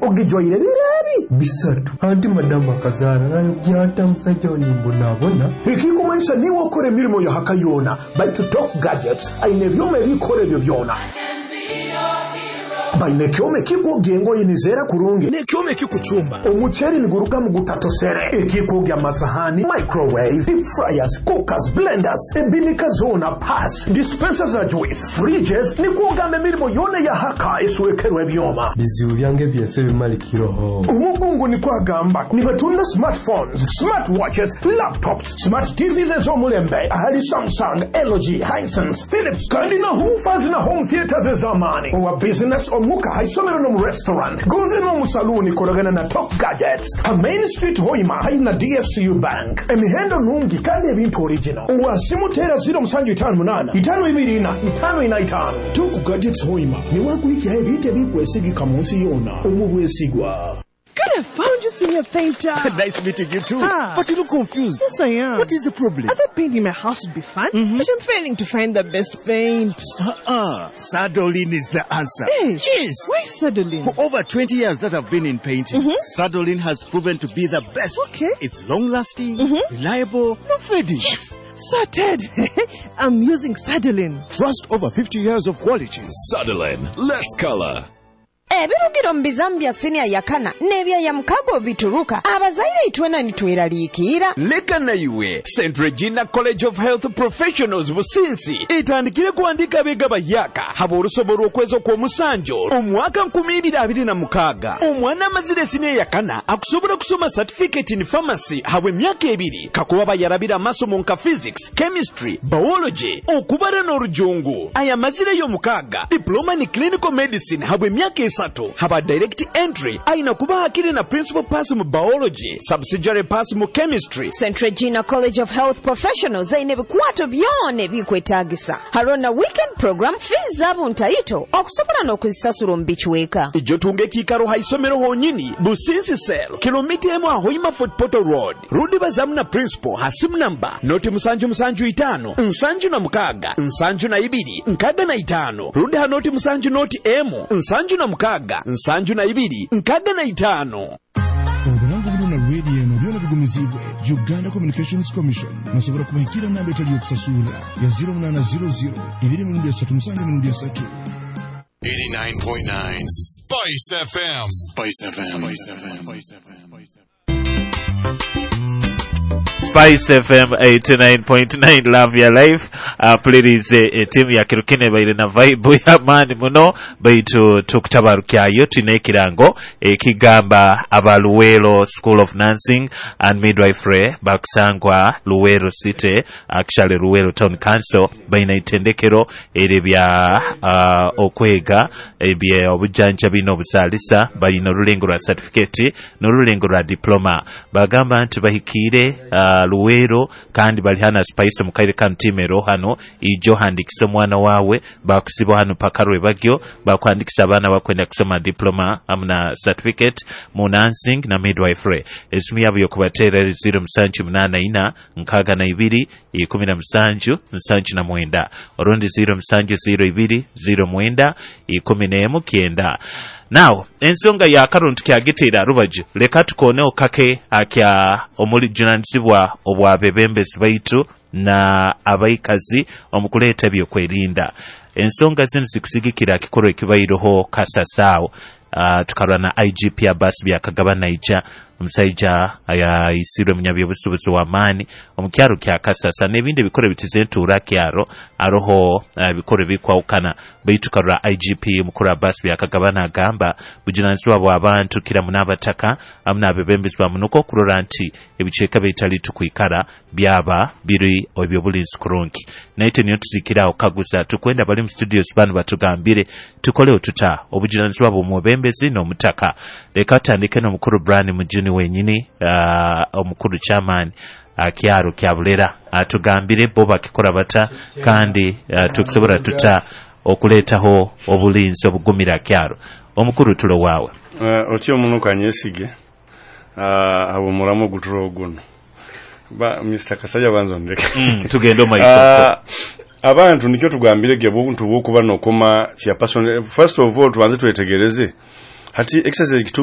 Ogijwaire bireebi. Bisatu anti madamu akazaara nayogya musajja we nimbonabona. Ekikumanyisa niwe okora emirimo yahaka yoona, baitu Top Gadgets aine ebyoma ebikora ebyo byona. Baine ekyoma ekikwogya engoye nizeera kurungi, n'ekyoma ekikucumba omuceeri nigurugamu gutatosere, ekikwogya amasahani, microwave, deep fryers, cookers, blenders, ebinika zoona, pass dispenser za juice, fridges, nikwogamba emirimo yoona yahaka eswekerwe ebyoma. Bizibu byange byese bimalikirwaho. Omugungu nikwo agamba nibatunda smartphones, smartwatches, laptops, smart TVs ez'omulembe ahali Samsung, LG, Hisense, Philips, kandi na woofers na home theaters ez'amaani. Owa business, omuka, haisomero n'omu restaurant gonze n'omu saluuni, koragana na Top Gadgets ha Main Street, Hoima, haihi na DFCU Bank. Emihendo nungi kandi ebintu original. Owasimu tera 0758 524 545. Top Gadgets Hoima niwakuhikyaho ebintu ebikwesigika mu nsi yoona omu bwesigwa. Good, I found you, senior painter. Nice meeting you too. Ah. But you look confused. Yes, I am. What is the problem? I thought painting my house would be fun, but I'm failing to find the best paint. Uh-uh. Sadolin is the answer. Hey. Yes. Why Sadolin? For over 20 years that I've been in painting, Sadolin has proven to be the best. Okay. It's long-lasting, reliable, no fading. Yes, sorted. I'm using Sadolin. Trust over 50 years of quality. Sadolin, let's color. Ebirugiro mu bizamu bya siniya yakana n'ebyaya mukago bituruka abazaire itwena nitweraliikirira. Leka naiwe, St Regina College of Health Professionals Businsi etandikire kuandika abeega bayaka haba olusobo lw'okwezi okw'omusanjo omwaka 2026. Omwana amazire esiniya yakana akusobola kusoma certificate in pharmacy habwa emyaka 2 kakuba bayarabira amasomo nka physics, chemistry, biology, okubara n'orujungu. Aya mazire y'omukaaga diploma ni clinical medicine habwa emyaka 3 haba direct entry aina kuba hakiri na principal pass mu biology, subsidiary pass mu chemistry. St Regina College of Health Professionals aine ebikwato byona ebikwetagisa hariho na weekend program, fees zaabo ntaito okusobola n'okuzisasura omu bicweka. Ijo tunga ekiikaro ha isomero honyini, Businsi Cell, kilomita 1 Hoima Fort Portal Road, rundi bazamu na principal ha simu namba 075 76 72 65, rundi ha 070 01 72 65. Oburango buno na rediyo eno byona bigumizibwe Uganda Communications Commission. Nosobola kubahikira namba etali yokusasura ya 0800 2 3 7 3. 89.9 Spice FM. Spice FM. Spice FM. Spice FM 89.9, Love Your Life. Pulirize etimu ya Kirukene baire na vibe y'amaani muno, baitu tukutabarukyayo tulina ekirango ekigamba aba Luwero School of Nursing and Midwifery bakusangwa Luwero City, actually Luwero Town Council. Baina itendekero eri bya okwega ebye obujanjabi n'obuzaalisa. Balina olulengo lwa certificate n'olulengo lwa diploma. Bagamba nti bahikiire Luwero kandi bali hana Spice mukaire kanu timero hano ijo handikisa omwana wawe bakusiba hano paka rwebagyo bakwandikisa abaana bakwenda kusoma diploma amu na certificate mu nursing na midwifery. Esimu yabo yokubateera eri 0784 62 17 79 orundi 0702 09 11 9. Now ensonga ya karuntu kyagiteera rubaju, leka tukoneho kake akya omujunanizibwa obwabebembezi baitu na abaikazi omukuleeta ebyokwerinda. Ensonga zinu zikusigikira kikorwa ekibaireho Kasasaawo. Tukarwa na IGP Abbas Byakagaba naija omusaija ayisirwe munyabyobusubuzi w'amaani omukyaro kya Kasasa n'ebindi ebikoro bitize entuura kyaro aroho ebikoro bikwawukana, baitu karora IGP mukuru Abbas Byakagaba nagamba bujunanizibwa bw'abantu kiramu n'abataka amu n'abebembezi bamunuka okurora nti ebicweka bitali tukwikara byaba biri ebyobulinzi kurungi. Naite niyo tuzikiraho kaguza tukwenda bali mu studios bano batugambire tukoleho tuta obujunanizibwa bw'omwebembezi n'omutaka. Leka tutandike n'omukuru Brian Mujuni wenyini, omukuru chairman kyaro kya Bulera, atugambire bo bakikora bata kandi tukusobola tuta okuleetaho obulinzi obugumira kyaro. Omukuru, tulo waawe. Otyo omunuka anyesige abo muramu guturo guno ba Mr Kasaja banzo ndeke. Tugende omaiso. Abantu nikyo tugambire ge buntu bwokuba nokoma chairperson. First of all, tubanze twetegereze hati exercise.